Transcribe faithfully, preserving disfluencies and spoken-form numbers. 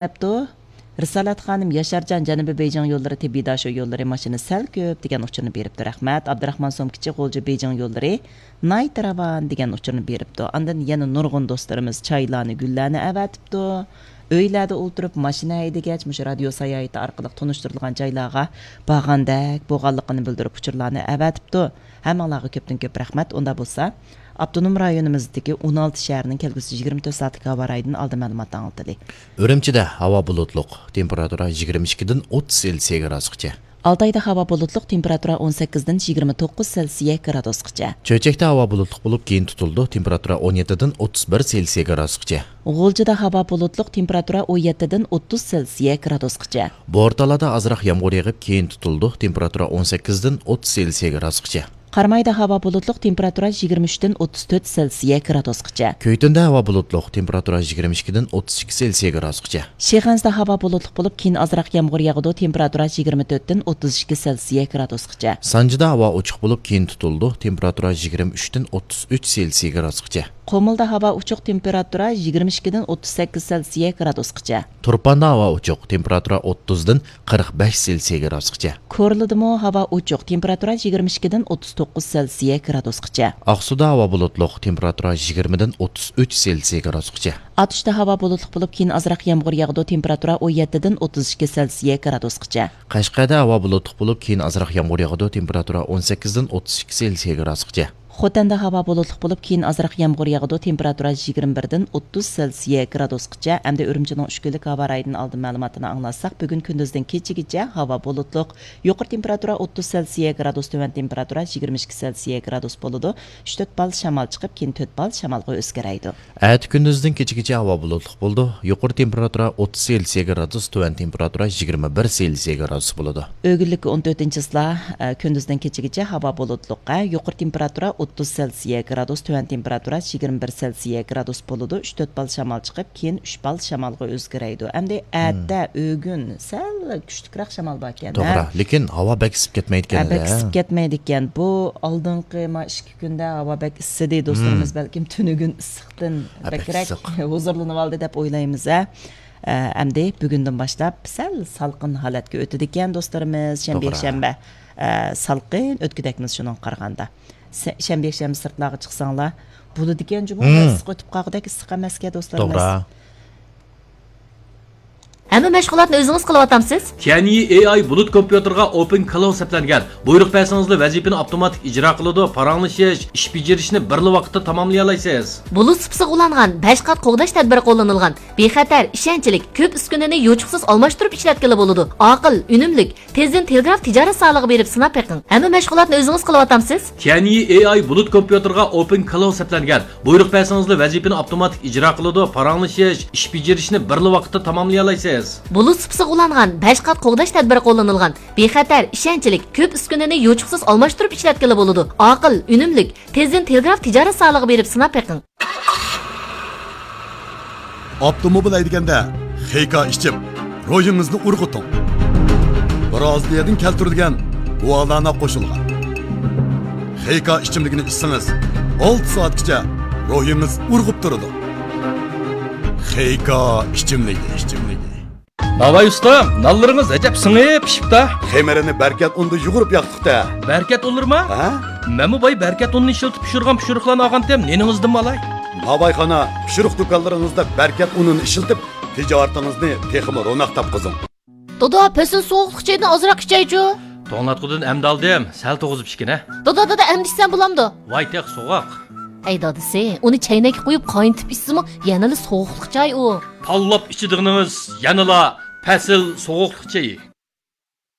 دەپتۇ. رىسالەت خانىم ياشارجان جەنۇبىي بېيجىڭ يوللىرى تېببىي داشو يوللىرى ماشىنا سەل كۆپ دېگەن ئۇچۇرنى بېرىپتۇ. رەھمەت. ئابدۇراخمان سومكىچى غۇلجا بېيجىڭ يوللىرى ناھايىتى راۋان دېگەن ئۇچۇرنى بېرىپتۇ. ئاندىن يەنە نۇرغۇن دوستلىرىمىز چايلارنى، گۈللەرنى ئەۋەتىپتۇ. ئۆيلەردە ئولتۇرۇپ ماشىنا ھەيدىگەچ مۇشۇ رادىيو ساياھىتى ئارقىلىق تونۇشتۇرۇلغان جايلارغا بارغاندەك بولغانلىقىنى بىلدۈرۈپ ئۇچۇرلارنى ئەۋەتىپتۇ. ھەممىڭلارغا كۆپتىن كۆپ رەھمەت. ئۇنداق بولسا، ئاپتونوم رايونىمىزدىكى ئون ئالتە شەھەرنىڭ كەلگۈسى يىگىرمە تۆت سائەتلىك ھاۋا رايىدىن ئالدىن مەلۇمات ئاڭلىتىلى. ئۈرۈمچىدە ھاۋا بۇلۇتلۇق، تېمپېراتۇرا يىگىرمە ئىككىدىن ئوتتۇز سېلسىيە گرادۇسقىچە. ئالتايدا ھاۋا بۇلۇتلۇق، تېمپېراتۇرا ئون سەككىزدىن يىگىرمە توققۇز سېلسىيە گرادۇسقىچە. چۆچەكتە ھاۋا بۇلۇتلۇق بولۇپ، كېيىن تۇتۇلىدۇ، تېمپېراتۇرا ئون يەتتىدىن ئوتتۇز بىر سېلسىيە گرادۇسقىچە. غۇلجىدا ھاۋا بۇلۇتلۇق، تېمپېراتۇرا ئون يەتتىدىن ئوتتۇز سېلسىيە گرادۇسقىچە. بورتالادا ئازراق يامغۇر يېغىپ، كېيىن تۇتۇلىدۇ، تېمپېراتۇرا ئون سەككىزدىن ئوتتۇز سېلسىيە گرادۇسقىچە. قارامايدا ھاۋا بۇلۇتلۇق، تېمپېراتۇرا يىگىرمە ئۈچتىن ئوتتۇز تۆت سېلسىيە گرادۇسقىچە. كۆيتۈندە ھاۋا بۇلۇتلۇق، تېمپېراتۇرا يىگىرمە ئىككىدىن ئوتتۇز ئىككى سېلسىيە گرادۇسقىچە. شىخەنزىدە ھاۋا بۇلۇتلۇق بولۇپ، كېيىن ئازراق يامغۇر ياغىدۇ، تېمپېراتۇرا يىگىرمە تۆتتىن ئوتتۇز ئىككى سېلسىيە گرادۇسقىچە. سانجىدا ھاۋا ئوچۇق بولۇپ، كېيىن تۇتۇلىدۇ، تېمپېراتۇرا يىگىرمە ئۈچتىن ئوتتۇز ئۈچ سېلسىيە گرادۇسقىچە. قۇمۇلدا ھاۋا ئوچۇق، تېمپېراتۇرا يىگىرمە ئىككىدىن ئوتتۇز سەككىز سېلسىيە گرادۇسقىچە. تۇرپاندا ھاۋا ئوچۇق، تېمپېراتۇرا ئوتتۇزدىن قىرىق بەش سېلسىيە گرادۇسقىچە. كورلىدىمۇ ھاۋا ئوچۇق، تېمپېراتۇرا يىگىرمە ئىككىدىن ئوتتۇز توققۇز سېلسىيە گرادۇسقىچە. ئاقسۇدا ھاۋا بۇلۇتلۇق، تېمپېراتۇرا يىگىرمىدىن ئوتتۇز ئۈچ سېلسىيە گرادۇسقىچە. ئاتۇشتا ھاۋا بۇلۇتلۇق بولۇپ، كېيىن ئازراق يامغۇر ياغىدۇ، تېمپېراتۇرا ئون يەتتىدىن ئوتتۇز ئىككى سېلسىيە گرادۇسقىچە. قەشقەردە ھاۋا بۇلۇتلۇق بولۇپ، كېيىن ئازراق يامغۇر ياغىدۇ، تېمپېراتۇرا ئون سەككىزدىن ئوتتۇز ئىككى سېلسىيە گرادۇسقىچە. خوتەندە ھاۋا بۇلۇتلۇق بولۇپ، كېيىن ئازراق يامغۇر ياغىدۇ، تېمپېراتۇرا يىگىرمە بىردىن ئوتتۇز سېلسىيە گرادۇسقىچە. ئەمدى ئۈرۈمچىنىڭ ئۈچ كۈنلۈك ھاۋا رايىدىن ئالدىن مەلۇماتىنى ئاڭلاتساق، بۈگۈن كۈندۈزدىن كېچىگىچە ھاۋا بۇلۇتلۇق، يۇقىرى تېمپېراتۇرا ئوتتۇز سېلسىيە گرادۇس، تۆۋەن تېمپېراتۇرا يىگىرمە ئىككى سېلسىيە گرادۇس بولىدۇ. ئۈچ تۆت بال شامال چىقىپ، كېيىن تۆت بال شامالغا ئۆزگىرەيدۇ. ئەتە كۈندۈزدىن كېچىگىچە ھاۋا بۇلۇتلۇق بولىدۇ. يۇقىرى تېمپېراتۇرا ئوتتۇز سېلسىيە گرادۇس، تۆۋەن تېمپېراتۇرا يىگىرمە بىر سېلسىيە گرادۇس بولىدۇ. ئۆگۈنلۈككە ئون تۆتىنچى چىسلا، ئە، كۈندۈزدىن كېچىگىچە ھاۋا بۇلۇتلۇق، ئە، يۇقىرى تېمپېراتۇرا ئوتتۇز سېلسىيە گرادۇس، تۆۋەن تېمپېراتۇرا يىگىرمە بىر سېلسىيە گرادۇس بولىدۇ. ئۈچ تۆت بال شامال چىقىپ، كېيىن ئۈچ بال شامالغا ئۆزگىرەيدۇ. ئەمدى ئەتە، ئۆگۈن سەل كۈچلۈكرەك شامال باركەن، ھە؟ توغرا، لېكىن ھاۋا بەك ئىسسىپ كەتمەيدىكەن، ھە، بەك ئىسسىپ كەتمەيدىكەن. بۇ ئالدىنقى ما ئىككى كۈندە ھاۋا بەك ئىسسىدى، دوستلىرىمىز بەلكىم تۈنۈگۈن ئىسسىقتىن ھە، بەك بەكرەك ئىسسىق. ھۇزۇرلىنىۋالدى دەپ ئويلايمىز، ھە. ئە، ئەمدى بۈگۈندىن باشلاپ سەل سالقىن ھالەتكە ئۆتىدىكەن، دوستلىرىمىز. شەنبە، توغرا. يەكشەنبە، ئە، سالقىن ئۆتكۈدەكمىز شۇنىڭغا قارىغاندا. سە-، شەنبە، يەكشەنبە سىرتلارغا چىقساڭلار بولىدىكەن جۇمۇ، ھىم. ئىسسىق ئۆتۈپ قالغۇدەك ئىسسىق ئەمەسكەن، دوستلىرىمىز. توغرا. ھەممە مەشغۇلاتنى ئۆزىڭىز قىلىۋاتامسىز؟ تيەنيى ئېي ئاي بۇلۇت كومپيۇتېرغا ئوپېن كلاود سەپلەنگەن. بۇيرۇق بەرسىڭىزلا ۋەزىپىنى ئاپتوماتىك ئىجرا قىلىدۇ، پاراڭلىشىش، ئىش بېجىرىشنى بىرلا ۋاقىتتا تاماملىيالايسىز. بۇلۇت سۇپىسىغا ئۇلانغان بەش قات قوغداش تەدبىرى قوللىنىلغان. بىخەتەر، ئىشەنچلىك، كۆپ ئۈسكۈنىنى يوچۇقسىز ئالماشتۇرۇپ ئىشلەتكىلى بولىدۇ. ئاقىل، ئۈنۈملۈك، تېزدىن تېلېگراف تىجارەت زالىغا بېرىپ سىناپ بېقىڭ. ھەممە مەشغۇلاتنى ئۆزىڭىز قىلىۋاتامسىز؟ تيەنيى ئېي ئاي بۇلۇت كومپيۇتېرغا ئوپېن كلاود سەپلەنگەن. بۇيرۇق بەرسىڭىزلا ۋەزىپىنى ئاپتوماتىك ئىجرا قىلىدۇ، پاراڭلىشىش، ئىش بېجىرىشنى بىرلا ۋاقىتتا تاماملىيالايسىز. بۇلۇت سۇپىسىغا ئۇلانغان بەش قات قوغداش تەدبىرى قوللىنىلغان. بىخەتەر، ئىشەنچلىك، كۆپ ئۈسكۈنىنى يوچۇقسىز ئالماشتۇرۇپ ئىشلەتكىلى بولىدۇ. ئاقىل، ئۈنۈملۈك، تېزدىن تېلېگراف تىجارەت زالىغا بېرىپ سىناپ بېقىڭ. ئاپتوموبىل ھەيدىگەندە خېيكا ئىچىپ، روھىڭىزنى ئۇرغۇتۇڭ. برازىلىيەدىن كەلتۈرۈلگەن گۇالانا قوشۇلغان خېيكا ئىچىملىكىنى ئىچسىڭىز، ئالتە سائەتكىچە روھىڭىز ئۇرغۇپ تۇرىدۇ. خېيكا ئىچىملىكى، ئىچىملىكى. ناۋاي ئۇستام، نانلىرىڭىز ئەجەب سىڭىپ پىشىپتا. خېمىرىنى بەركەت ئۇندا يۇغۇرۇپ ياقتۇق-تە. بەركەت ئۇنلىرىما؟ ھە؟ مەنمۇ باي بەركەت ئۇنىنى ئىشلىتىپ پىشۇرغان پىشۇرۇقلارنى ئالغانتىم، نېنىڭىزدىنمۇ ئالاي. ناۋايخانا، پىشۇرۇق دۇكانلىرىڭىزدا بەركەت ئۇنىنى ئىشلىتىپ، تىجارىتىڭىزنى تېخىمۇ روناق تاپقۇزۇڭ. دادا، پەسىل سوغۇقلۇق چايدىن ئازراق ئىچەيچۇ. توڭلاتقۇدىن ئەمدى ئالدىم، سەل توغۇزۇپ ئىچكىنە. دادا، دادا، ئەمدى ئىچسەم بولامدۇ؟ ۋاي تېخى سوغۇق. ھەي دادىسى، ئۇنى چەينەككە قۇيۇپ قاينىتىپ ئىچسىمۇ يەنىلا سوغۇقلۇق چاي ئۇ. تاللاپ ئىچىدىغىنىڭىز يەنىلا پەسىل سوغۇقلۇق چېيى.